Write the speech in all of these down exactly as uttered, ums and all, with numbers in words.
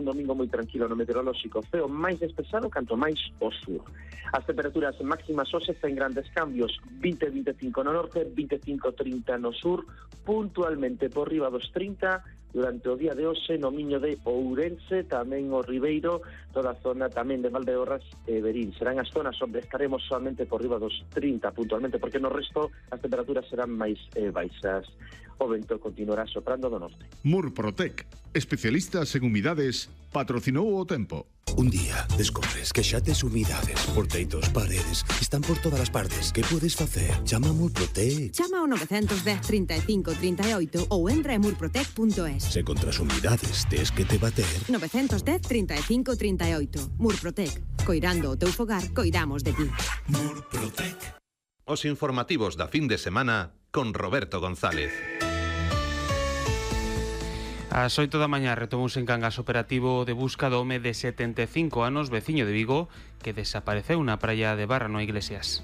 domingo moi tranquilo no meteorolóxico, ceo máis despexado canto máis ao sur. As temperaturas máximas hoxe ten grandes cambios, vinte a vinte e cinco no norte, vinte e cinco a trinta no sur, puntualmente por riba dos trinta durante o día de hoxe no Miño de Ourense, tamén o Ribeiro, toda a zona tamén de Valdeorras e Verín. Serán as zonas onde estaremos solamente por riba dos trinta puntualmente, porque no resto as temperaturas serán máis eh, baixas. O vento continuará soprando do norte. Murprotec, especialistas en humidades, patrocinou o tempo. Un día descobres que xa tes humidades por teitos, paredes, están por todas as partes. Que podes facer? Chama a Murprotec. Chama ao nove un cero, trinta e cinco, trinta e oito ou entra en murprotec punto es. Se contra as humidades tes que te bater. nove un cero, trinta e cinco, trinta e oito. Murprotec. Coirando o teu fogar, coidamos de ti. Murprotec. Os informativos da fin de semana con Roberto González. Ás oito da mañá retomouse en Cangas operativo de busca do home de setenta e cinco anos, veciño de Vigo, que desapareceu na praia de Barra, no Iglesias.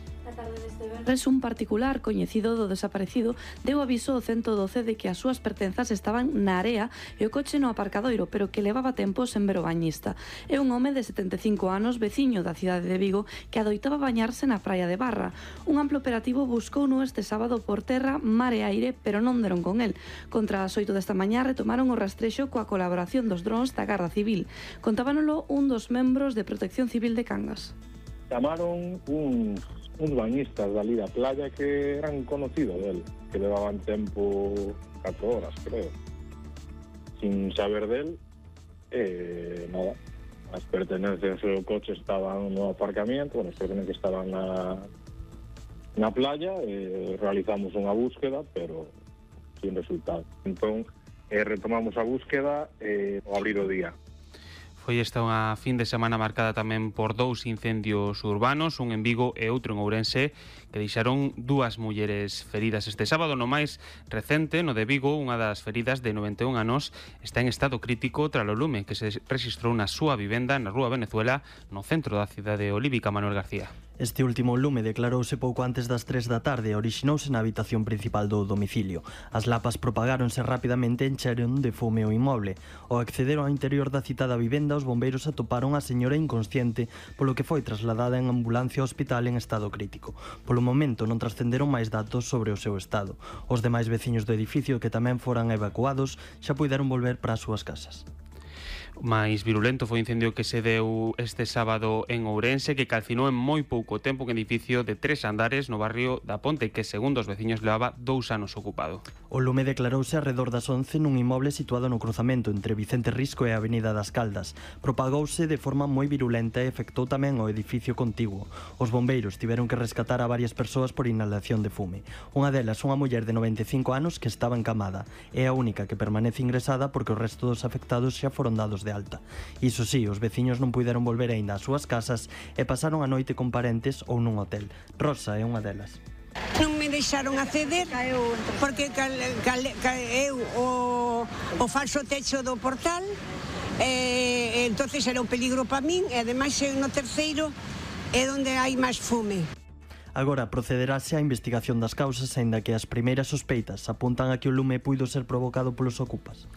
Res un particular coñecido do desaparecido deu aviso ao ciento doce de que as súas pertenzas estaban na area e o coche no aparcadoiro, pero que levaba tempo sen ver o bañista. É un home de setenta e cinco anos, veciño da cidade de Vigo, que adoitaba bañarse na praia de Barra. Un amplo operativo buscouno este sábado por terra, mar e aire, pero non deron con el. Contra as oito desta mañá retomaron o rastrexo coa colaboración dos drons da Garda Civil. Contábanolo un dos membros de Protección Civil de Cangas. Chamaron un uns bañistas dali da playa que eran conocidos del, que levaban tempo catro horas, creo, sin saber del, e nada, as pertenencias do coche estaban no aparcamiento, bueno, as pertenencias estaban na, na playa, e realizamos unha búsqueda, pero sin resultado. Entón, eh, retomamos a búsqueda e ao abrir o día. Foi esta unha fin de semana marcada tamén por dous incendios urbanos, un en Vigo e outro en Ourense, que deixaron dúas mulleres feridas este sábado. No máis recente, no de Vigo, unha das feridas de noventa e un anos está en estado crítico tras o lume que se rexistrou na súa vivenda na Rúa Venezuela, no centro da cidade olívica. Manuel García. Este último lume declarouse pouco antes das tres da tarde e orixinouse na habitación principal do domicilio. As lapas propagáronse rapidamente e encheron de fume o inmoble. Ao acceder ao interior da citada vivenda, os bombeiros atoparon a señora inconsciente, polo que foi trasladada en ambulancia ao hospital en estado crítico. Polo momento non trascenderon máis datos sobre o seu estado. Os demais veciños do edificio que tamén foran evacuados xa puideron volver para as súas casas. máis virulento foi o incendio que se deu este sábado en Ourense, que calcinou en moi pouco tempo un edificio de tres andares no barrio da Ponte, que segundo os veciños levaba dous anos ocupado. O lume declarouse arredor das once nun inmoble situado no cruzamento entre Vicente Risco e a Avenida das Caldas. Propagouse de forma moi virulenta e afectou tamén o edificio contiguo. Os bombeiros tiveron que rescatar a varias persoas por inhalación de fume. Unha delas, unha muller de noventa e cinco anos que estaba encamada. É a única que permanece ingresada porque o resto dos afectados xa foron dados de alta. Iso sí, os veciños non puideron volver aínda ás súas casas e pasaron a noite con parentes ou nun hotel. Rosa é unha delas. Non me deixaron acceder porque caeu o, o falso techo do portal, e entonces era un peligro para min, e ademais no terceiro é onde hai máis fume. Agora procederase á investigación das causas, aínda que as primeiras sospeitas apuntan a que o lume puido ser provocado polos ocupas.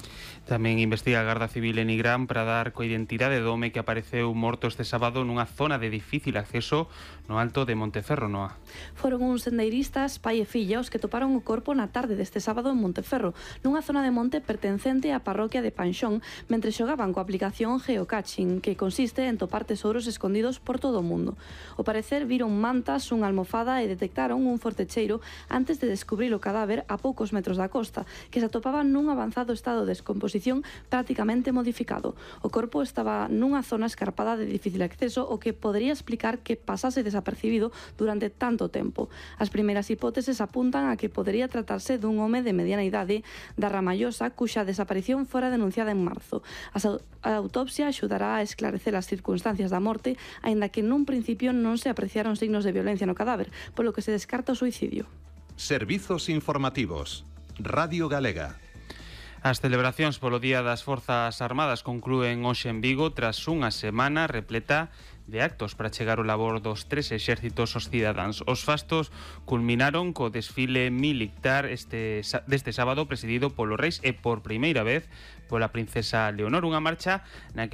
Tamén investiga a Garda Civil en Nigrán para dar coa identidade do home que apareceu morto este sábado nunha zona de difícil acceso no alto de Monteferro, Noa. Foron uns sendeiristas, pai e filla, os que toparon o corpo na tarde deste sábado en Monteferro, nunha zona de monte pertencente á parroquia de Panxón, mentre xogaban coa aplicación Geocaching, que consiste en topar tesouros escondidos por todo o mundo. Ao parecer viron mantas, un almofada e detectaron un forte cheiro antes de descubrir o cadáver a poucos metros da costa, que se atopaba nun avanzado estado de descomposición prácticamente modificado. O corpo estaba nunha zona escarpada de difícil acceso, o que podría explicar que pasase desapercibido durante tanto tempo. As primeiras hipóteses apuntan a que podría tratarse dun home de mediana idade da Ramallosa, cuxa desaparición fora denunciada en marzo. A autopsia axudará a esclarecer as circunstancias da morte, aínda que nun principio non se apreciaron signos de violencia no cadáver, polo que se descarta o suicidio. Servizos informativos. Radio Galega. As celebracións polo Día das Forzas Armadas conclúen hoxe en Vigo tras unha semana repleta de actos para chegar o labor dos tres exércitos aos cidadáns. Os fastos culminaron co desfile militar este, deste sábado presidido polo Reis e por primeira vez pola princesa Leonor, unha marcha na que